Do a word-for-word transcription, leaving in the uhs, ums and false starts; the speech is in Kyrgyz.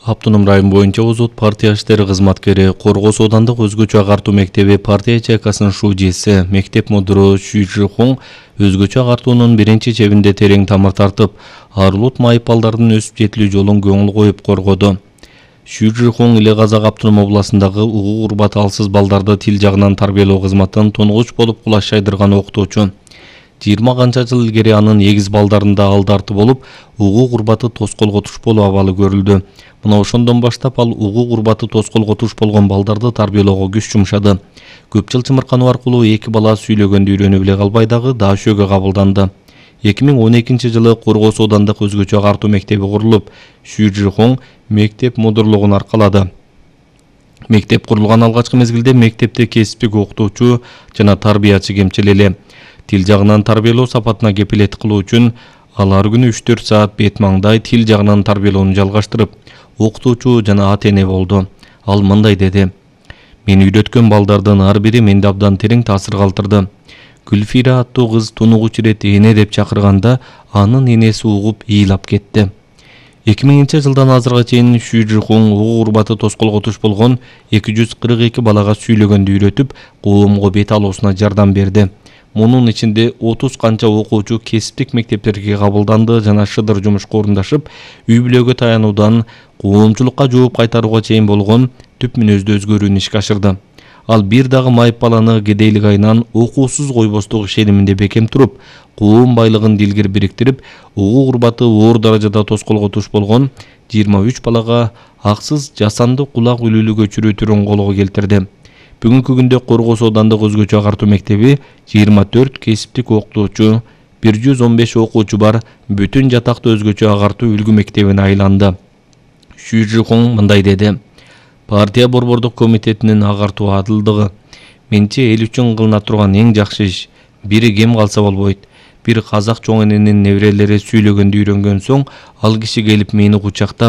Автоном район боюнча Озот партия иштери кызматкери, Коргоо Соодандык өзгөчө агартуу мектеби партия ячейкасынын шужеси, мектеп мудиру Шү Жихун өзгөчө агартуунун биринчи чебинде терең тамыр тартып, арылут майып балдардын өсүп жетилүү жолун көңүл коюп коргоду. Шү Жихун Иле Казак автоном областындагы угук урбаты алсыз балдарды тил жагынан тарбиялоо кызматын тунугуч болуп кулаш жайдырган окутуучу. жыйырма канча жыл илгери анын эгиз балдарында алдарты болуп, угук урбаты тоскоолго туш болуу абалы көрүлдү. Мына ошондон баштап ал угук урбаты тоскоолго туш болгон балдарды тарбиялоого күч жумшады. Көп жыл чымыркануу аркылуу эки бала сүйлөгөндү үйрөнүп эле калбай дагы даашөөгө кабылданды. эки миң он экинчи жылы Коргоо Соодандык өзгөчө агартуу мектеби курулуп, Шү Жихун мектеп мудирлигин аркалады. Мектеп курулган алгачкы мезгилде мектепте кесиптик окутуучу жана тарбиячы кемчил эле. Тил жагынан тарбиялоо сапатына кепилет кылуу үчүн ал ар күнү үч төрт саат бет маңдай тил жагынан тарбиялоону жалгаштырып, окутуучу жана ата эне болду. Ал мындай деди: "Мен үйрөткөн балдардын ар бири менде абдан терең таасир калтырды. Гүлфира аттуу кыз тунугуч ирет эне деп чакырганда анын энеси угуп ыйлап кетти." эки миңинчи жылдан азыркыга чейин Шү Жихун угук урбаты тоскоолго туш болгон эки жүз кырк эки балага сүйлөгөндү үйрөтүп, коомго бет алуусуна жардам берди. Мунун ичинде отуз канча окуучу кесиптик мектептерге кабылданды жана шыдыр жумушка орундашып, үй бүлөгө таянуудан коомчулукка жооп кайтарууга чейин болгон түп мүнөздүү өзгөрүүнү ишке ашырды. Ал бир дагы майып баланы кедейлик айынан окуусуз койбостук ишениминде бекем туруп, коом байлыгын дилгир бириктирип, угук урбаты оор даражада тоскоолго туш болгон жыйырма үч балага аксыз жасанды кулак үлүүлүгө чүрүү түрүн колго келтирди. Бүгүнкү күндө Коргоо Соодандык өзгөчө агартуу мектеби жыйырма төрт кесиптик окутуучу, бир жүз он беш окуучу бар бүтүн жатактуу өзгөчө агартуу үлгү мектебине айланды. Шү Жихун мындай деди: "Партия борбордук комитетинин агартуу адылдыгы менче эл үчүн кылына турган эң жакшы иш. Бири кем калса болбойт. Бир казак чоң эненин неберелери сүйлөгөндү үйрөнгөн соң, ал киши келип мени кучактап,